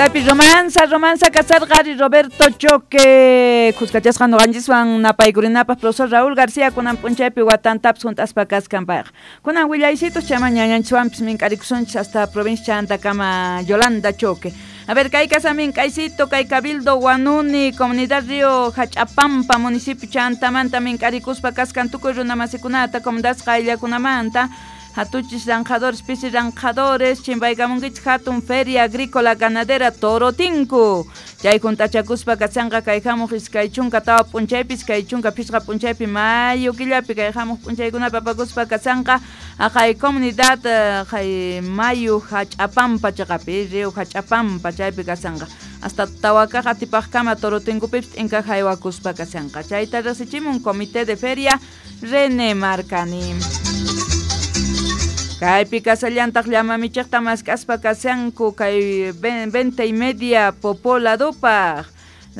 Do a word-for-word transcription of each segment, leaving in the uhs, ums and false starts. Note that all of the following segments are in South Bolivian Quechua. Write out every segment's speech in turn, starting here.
Tapi romanza, romanza kasarqari Roberto Choque, kuskachasqa nuqanchiswan napaykurinapaq profesor Raúl García kunan p'unchaypi watantapis hunt'aspa kaskan payqa. Kunan willaysitos chayman ñañanchiswanpis mink'arikusunchis hasta provincia chantakama Yolanda Choque. A ver, kay kasa mink'aysito, kay Cabildo Huanuni, Comunidad Río Hach'apampa, municipio chantamanta mink'arikuspa kaskan tukuy runamasikunata, comunidad qayllakunamanta. Hatuchis ranjadores, pisi ranjadores, chimpaykamunkichis hatun feria agrícola ganadera Torotinku. Chay juntachakuspa kashanqa kay hamuq iskay chunka tawa p'unchaypi, iskay chunka phisqa p'unchaypi mayo killapi kay hamuq p'unchaykunapi apakuspa kashanqa aqay comunidad qay mayu Hach'apampa chaqapi, río Hach'apampa chaypi kashanqa. Hasta tawakaq atipaqkama Torotinkupipis t'inkaq haywakuspa kashanqa. Chayta riqsichimun comité de feria René Marcani. Kaypi kasallantaq llamamichiqta mask'aspa kashanku kay veinte y media Popó ladupaq.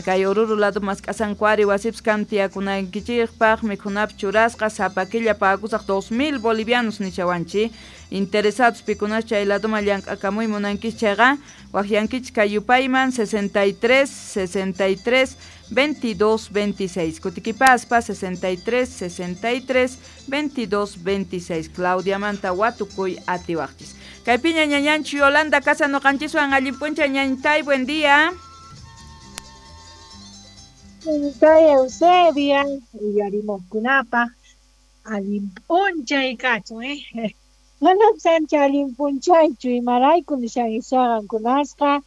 Kay Oruro lado mask'asanku ari wasipis kan tiyakunaykichikpaq mikhunapis churasqa sapa killa pagakusaq dos mil bolivianos nishawanchik. Interesados pikunas chay laduman llank'akamuy munankichik chayqa waqyankichik kay yupayman sesenta y tres, sesenta y tres, veintidós, veintiséis. Kutikipaspa sesenta y tres, sesenta y tres, veintidós, veintiséis. Claudia Manta watukuy atiwaqchis. Kaypiña ñañanchi Yolanda casa nuqanchiswan allin p'unchay ñañtay, buen día. Ñañtay Eusebia, uyarimuqkunapaq allin p'unchay kachun, eh. Manam sancha allin p'unchaychu imarayku nishan isaqankunasqa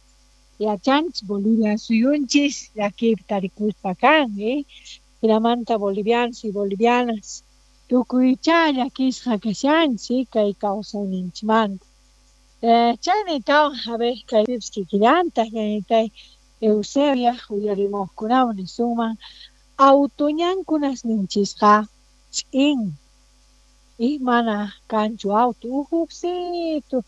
yachanchis Bolivia suyunchis llakiypi tarikuspa kan, eh. Hinamanta bolivianos y bolivianas tukuychá llakisqa kashanchis kay kawsayninchikmanta. Eh, chaynitawan a ver kaypipis kikillantaq ñañitay Eusebia uyarimuqkunawan nisunman autoñankunasninchisqa ch'in y mana kanchu auto uhuqsitu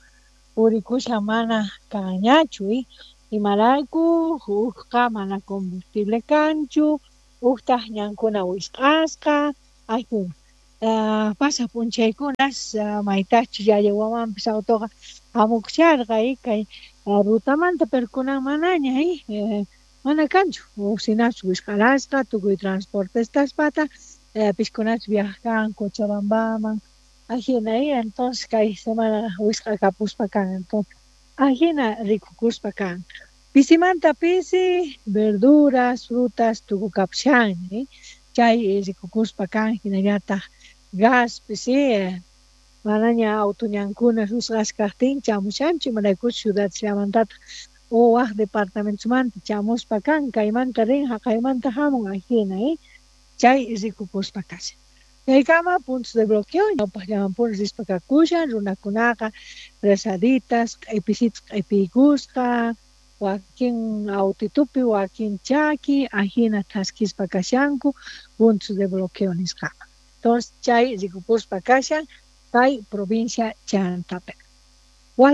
purikushan mana kanñachu y imarayku hukqa mana combustible kanchu huktaq ñankuna wisq'asqa ayjun uh, pasa p'unchaykunas uh, maytachus yayawamanpis autoqa hamukusharqa y kay uh, rutamanta pero kunan manaña y eh, mana kanchu huk wisq'arasqa tukuy transportestaspata eh, piskunachus viajan Cochabambaman ajina y entonces kay semana wisq'akapuspa kan entonces ajina rikukuspa kan pisimanta pisi verduras frutas tukukapushan eh? Chay rikukuspa kan hinallataq gaspis eh, manaña autoñankuna wisq'asqa kaqtin chamushanchu imaraykuchus ciudad llamantataq o waq departamentosmanta chamuspa kan kaymanta rin haqaymanta hamun ajina eh? Chay rikukuspa kashan. Chaykama puntos de bloqueo ñawpaqllamanpuni rispa kakushan runakunaqa rezaditas q'ipisitas q'ipiykusqa wakin autitupi wakin chaki ajina thaskispa kashanku puntos de bloqueo nisqaman. Entonces chay rikukuspa kashan kay provincia Chantapi. Waq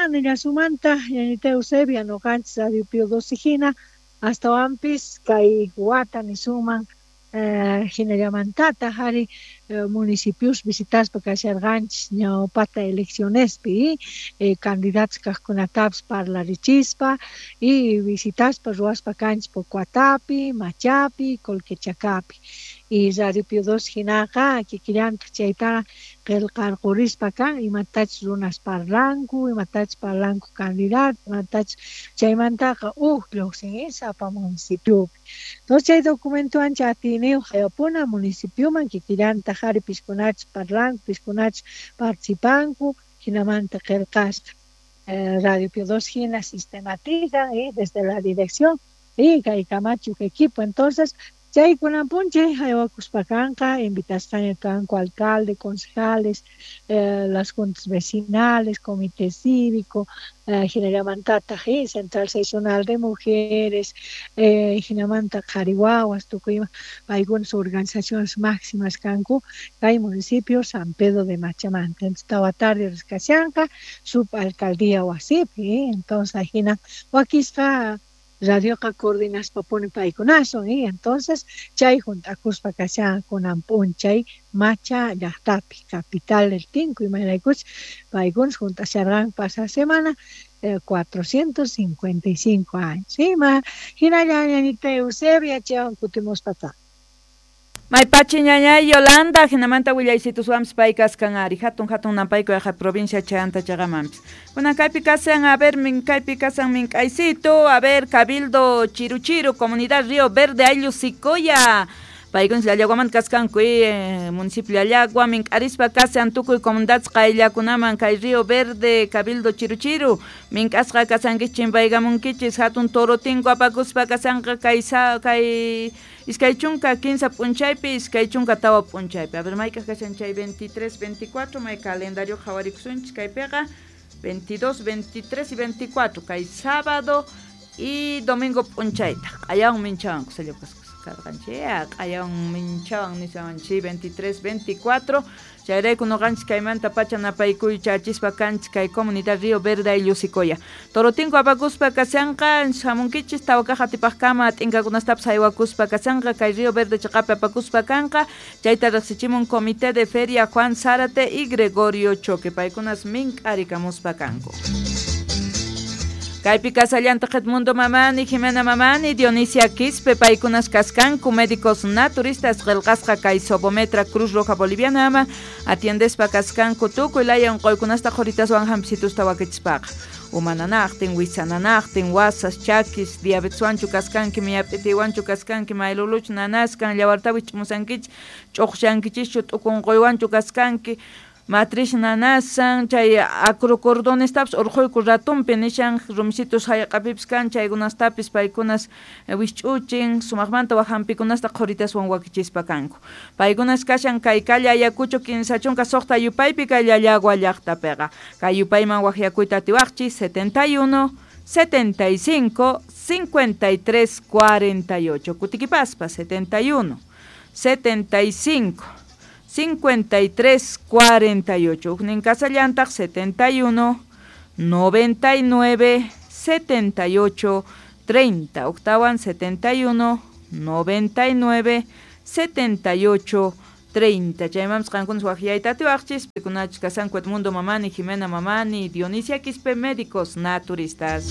nillasunmanta ñañita Eusebia nuqanchis Radio Pío doce hina astawanpis kay wata nisunman eh, hinallamantataq ari eh, municipios visitaspa kasharqanchis ñawpata eleccionespi eh, candidatos kaqkunatapis parlarichispa y visitaspa ruwaspa kanchis Pocuatapi, Machapi, Colquechacapi y Radio Pío doce hinaqa kikillantaq chaytaqa qillqarqurispa kan imatachus runas parlanku, imatachus parlanku candidato, imatachus chaymantaqa huk lluqsin sapa municipiopi. Entonces chay documentowan atiyniyuq hayapuna municipioman kikillantaq ari piskunachus parlanku, piskunachus participanku, hinamanta qillqasqa. Eh, Radio Pío doce hina sistematizan y desde la dirección y kay kamachi huk equipo. Entonces chay kunan p'unchay haywakuspa kanqa invitasqaña kanku alcalde, concejales, eh, las juntas vecinales, comité cívico, eh, hinallamantataq eh, central seccional de mujeres, eh, hinamanta qhari wawas tukuy ima paykunas organizaciones máximas kanku kay municipio San Pedro de Machamanta. Entonces tawa tarde risqashanqa subalcaldía wasipi, eh, entonces ajina wakisqa Radioqa coordinaspapuni paykunasun y entonces chay junt'akuspa kashan kunan p'unchay Macha llaqtapi capital del Tinku imaraykuchus paykunas junt'asharqanku pasada semana eh, cuatrocientos cincuenta y cinco años ima hinalla ñañita Eusebia chaywan kutimuspa. Maypachi ñañay Yolanda, hinamanta willaysituswanpis pay kaskan ari, hatun hatun napayku yaqa provincia chayanta chaqamanpis. Kunan kaypi kasan, a ver, min kaypi kasan mink'aysito, a ver, Cabildo Chiruchiru, Comunidad Río Verde, Ayllu Sicoya. Paykunas Llallaguamanta kaskanku, eh, municipio Llallagua, mink'arispa kasan tukuy comunidades qayllakunaman kay Río Verde, Cabildo Chiruchiru, mink'asqa kasankichis chimpaykamunkichis, hatun torotinko apakuspa kasanqa kay sa kay iskay chunka kinsa p'unchaypi, iskay chunka tawa p'unchaypi. A ver, mayk'aq kashan chay veintitrés, veinticuatro, may calendario qhawarikusunchis kaypiqa veintidós, veintitrés y veinticuatro, kay sábado y domingo p'unchayta. Q'ayawan minchawan kusalla kasqanchik, q'ayawan minchawan nishawanchik veintitrés, veinticuatro. Chayrayku noqanchis kaymanta pacha napaykuy chachispa kanchis kay comunidad Río Verde ayllu Sicoya. Torotinko apakuspa kashanqa hamunkichis tawa kaq atipaqkama t'inkakunastapis haywakuspa kashanqa kay Río Verde chaqapi apakuspa kanqa. Chayta riqsichimun Comité de Feria Juan Zárate y Gregorio Choque. Paykunas mink'arikamuspa kanku. Kaypi kasallanta Edmundo Mamani, Jimena Mamani, Dionisia Quispe, paykunas kaskanku, médicos naturistas, qillqasqa kay Sobometra Cruz Roja Boliviana ama, atiendespa kaskanku tukuy laya unquykunasta qhuritaswan hampisitusta wakichispaqa. Umananaqtin, wisananaqtin, wasas, chakis, diabeteswanchu kaskanki, miyap'itiwanchu kaskanki, mayluluchu nanaskan, llawartawi ch'umusankichis, ch'uqshankichischu, t'ukunquywanchu kaskanki, matriz nanasan, chay acrocordonestapis urquyku ratumpi nishan rumisitus hallq'apipis kan chaykunastapis paykunas wisch'uchin sumaqmanta wak hampikunasta qhuritaswan wakichispa kanku. Paykunas kashan kay calle Ayacucho kinsa chunka suqta yupaypi kay Llallagua llaqtapiqa. Kay yupayman waqyakuyta atiwaqchis setenta y uno, setenta y cinco, cincuenta y tres, cuarenta y ocho. Kutikipaspa setenta y uno, setenta y cinco, cincuenta y tres, cuarenta y ocho. Ujnin kasallantaq setenta y uno, noventa y nueve, setenta y ocho, treinta. Octawan setenta y uno, noventa y nueve, setenta y ocho, treinta. Chaymanpis qankunas waqyayta atiwaqchis, pikunachus kasanku Edmundo Mamani, Jimena Mamani, Dionisia Quispe, médicos naturistas.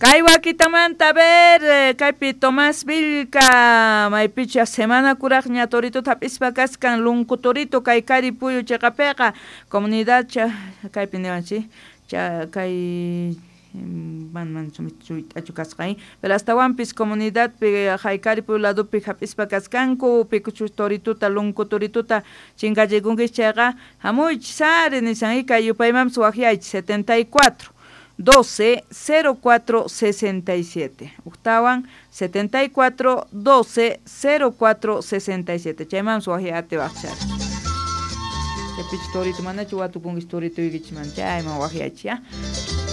Kay wakitamanta, a ver, kaypi Tomás Vilca, maypicha semana kuraqña torito hap'ispa kaskan lunku torito kay Karipuyu chaqapiqa, comunidad cha kaypi niwanchik, cha kay man man suyt'achu kasqa, pero astawanpis comunidadpi Haykaripuyu ladopi hap'ispa kaskanku, pikuchus torituta lunku torituta chinkachikunkichis chayqa hamuychis ari nishan kay yupaymanpis waqyaychis setenta y cuatro, doce, cero cuatro, sesenta y siete. Octawan setenta y cuatro, doce, cero cuatro, sesenta y siete. Chayman suajiate waqchar. Chapich torito manachu watukunkis torito ykichman chayman waqyachi ya.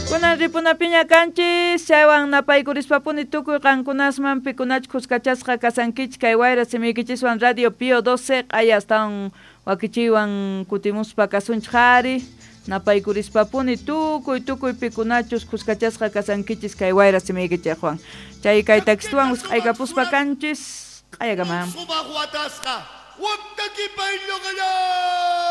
Kunan ripunapiña kanchis, chaywan napaykurispa-puni tukuy qankunasman pikunach kuskachasqa kasankichik kay wayra simiykichiswan Radio Pío doce q'aya astawan wakichiywan kutimuspa kasunchik ari. Napaykurispa-puni tukuy tukuy pikunachus kuskachasqa kasankichis kay wayra simiykichikwan. Chay kay takistuwan usq'aykapuspa kanchis q'ayakama. Sumaq watasqa, waqtakipay lluqallan.